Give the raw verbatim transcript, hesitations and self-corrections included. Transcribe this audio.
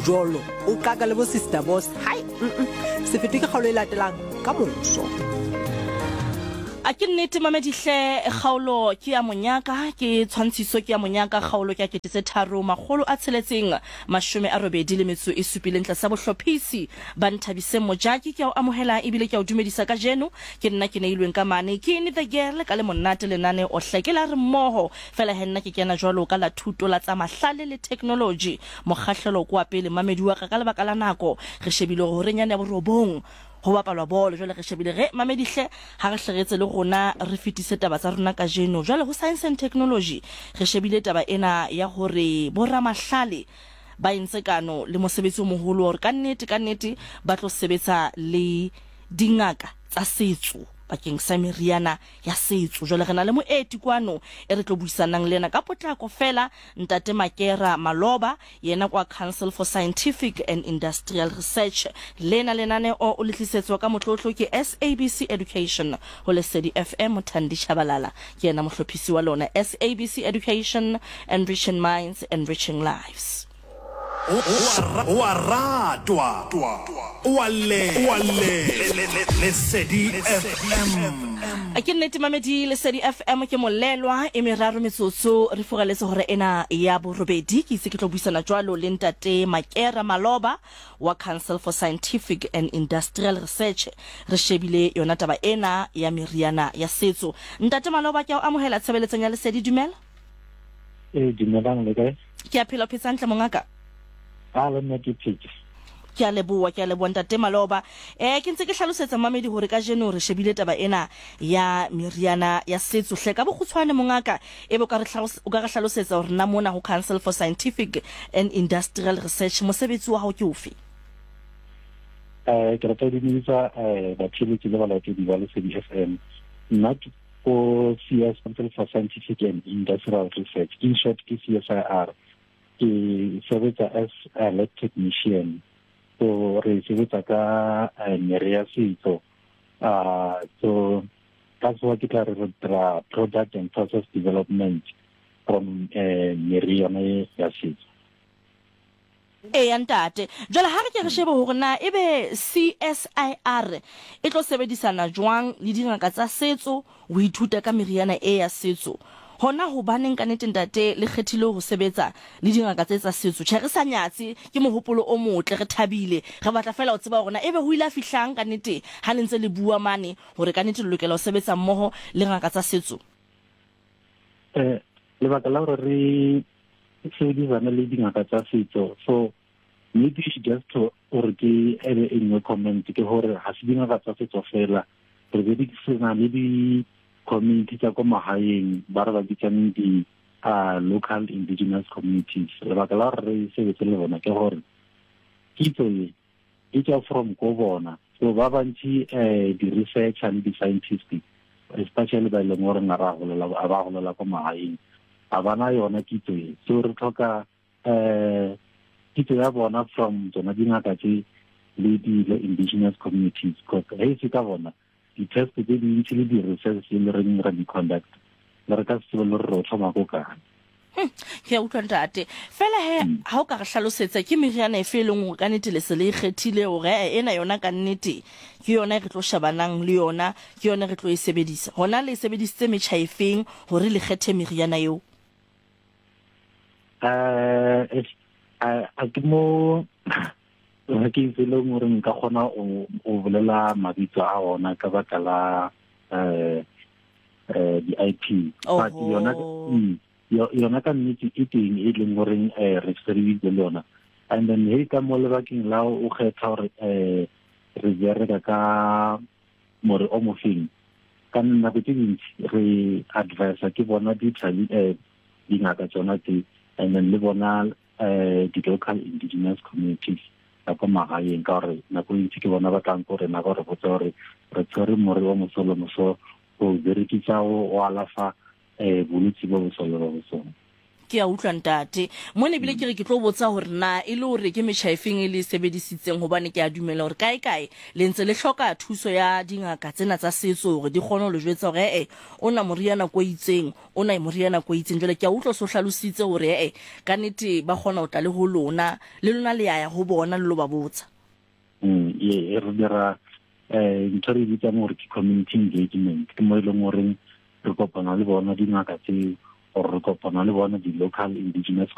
Mjolo o qaka le bo Sister Boss. Hai, mm -mm. Se fetwe ke kgaolo e latelang ka moso. A ke nnete mamedihle, kgaolo ke ya monyaka, ke tshwantshiso ke ya monyaka, kgaolo ke ya kete tse tharo makgolo a tsheletseng mashome a robedi le metso e supileng tlasa bohlophisi ba Nthabiseng Mojaki. Ke a o amohela ebile ke a o dumedisa kajeno. Ke nna ke neilweng ka mane ke ne the girl ka le monate lenane ohle ke la re mmoho fela he nna ke kena jwalo ka la thuto la tsa mahlale le technology. Mokgahlelo kwa pele mamedi wa ka, ka lebaka la nako re shebile hore horeng yane ya borobong ho bapalwa bolo. Jwale re shebile re mamedihle ha re hleretse le rona re fetise taba tsa rona kajeno. Jwale ho science and technology re shebile taba ena ya hore boramahlale ba entse kano le mosebetsi o moholo hore ka nnete ka nnete ba tlo sebetsa le dingaka tsa setso bakeng sa meriana ya setso. Jwale re na le moeti kwano e re tlo buisanang le yena ka potlako fela, ntate Makera Maloba, yena kwa Council for Scientific and Industrial Research. Lena lenaneo o le tlisetswa ka motlotlo ke S A B C Education ho Lesedi F M. Thandi Tshabalala ke yena mohlophisi wa lona. S A B C Education, enriching minds, enriching lives. O a ratwa, o a le, Lesedi F M. A ke nnete mamedi, Lesedi F M ke molelwa e meraro metsotso re furaletse hore ena ya borobedi. Ke itse ke tlo buisana jwalo le ntate Makera Maloba wa Council for Scientific and Industrial Research. Re shebile yona taba ena ya meriana ya setso. Ntate Maloba, ke a o amohela tshebeletsong ya Lesedi, dumela. Eh, dumelang, le kae? Ke a phela, o phetse hantle mongaka? A le nna ke phetse. Ke a leboha, ke a leboha ntate Maloba. Eh ke ntse ke hlalosetsa mamedi hore kajeno re shebile taba ena ya meriana ya setso. Hle ka bokgutshwane mongaka, ebe o ka re hlalos-, o ka re hlalosetsa hore na mona ho Council for Scientific and Industrial Research mosebetsi wa hao ke ofe? Eh ke rata ho dumedisa, eh, batheletsi le balatedi ba Lesedi F M. Nna ke ko C S, Council for Scientific and Industrial Research, in short ke C S I R. Ke sebetsa as a lab technician. So re sebetsa ka, eh, mere ya setso. Ah, so ka sekgowa ke tla re re dira product and process development from, eh, mere yona e ya setso. Eya ntate, jwale ha re ke re shebe hore na ebe C S I R e tlo sebedisana jwang le dingaka tsa setso ho ithuta ka meriana e ya setso. Hona hobaneng ka nnete ntate le kgethile ho sebetsa le dingaka tse tsa setso? Tjhe, re sa nyatse, ke mohopolo o motle, re thabile. Re batla fela ho tseba hore na ebe ho ile ha fihlang ka nnete ha le ntse le bua mane hore ka nnete le lokela ho sebetsa mmoho le ngaka tsa setso. Eh, lebaka la hore re sebedisane le dingaka tsa setso, so maybe just to hore ke ebe e nngwe comment ke hore ha se dingaka tsa setso fela, re berekisana le di community tsa ko magaeng ba re ba bitsang di, ah, local indigenous communities. Lebaka la hore re sebetse le bona ke hore kitso e e tswa from ko bona. So ba bantši, eh, di-researcher le di-scientist, especially ba e leng gore ga ra golela, ga ba golela ko magaeng, ga ba na yona kitso e. So re tlhoka, eh, kitso ya bona from tsona dingaka tse le di-indigenous communities, because ge e se ka bona di-test tse dintsi le di-research tse le reng ra di-conduct, le re ka se tsebe le gore re o tlhoma ko kae. Hm, ke a utlwa ntate. Fela he, Mm. ha o ka re hlalosetsa ke meriana efe e leng hore ka nnete le se le ikgethile hore, eh, ena yona ka nnete ke yona e re tlo shebanang le yona, ke yona re tlo e sebedisa. Hona le sebedisitse metjha efeng hore le kgethe meriana eo? Eh, eh, a ke mo ke itse le gore nka kgona ho, ho bolela mabitso a ona ka baka la, eh, eh, di-I P. But Oho. yona, mm, yo-, yona ka nnete e teng e leng goreng, eh, re sebeditse le yona. And then he ka mo lebakeng la o kgetha hore, eh, re bereka ka more o mofeng, ka nako tse dintsi re advisa ke bona di-tradi-, eh, dingaka tsona tse, and then le bona, eh, di-local indigenous communities tsa ko magaeng, ka gore nako e ntsi ke bona ba tlang ko rena ba re botsa gore re tshwere more wa moso le moso go berekisa go alafa, eh, bolwetse bo bo so le bo bo so. Ke a utlwa, ntate. Mo ne ebile ke re ke tlo botsa hore na e le hore ke metjha efeng e le e sebedisitseng, hobane ke a dumela hore kae kae le ntse le hloka thuso ya dingaka tsena tsa setso hore di kgone ho le jwetsa hore ee, o na moriana ko itseng, o na moriana ko itseng. Jwale ke a utlwa so hlalositse hore ee, ka nnete ba kgona ho tla le ho lona, le lona le ya ya ho bona le lo ba botsa. Mm, ye re dira eh ntho re e bitsang gore ke community engagement. Ke mo e leng goreng re kopana le bona dingaka tseo, or re kopana le bona di-local indigenous.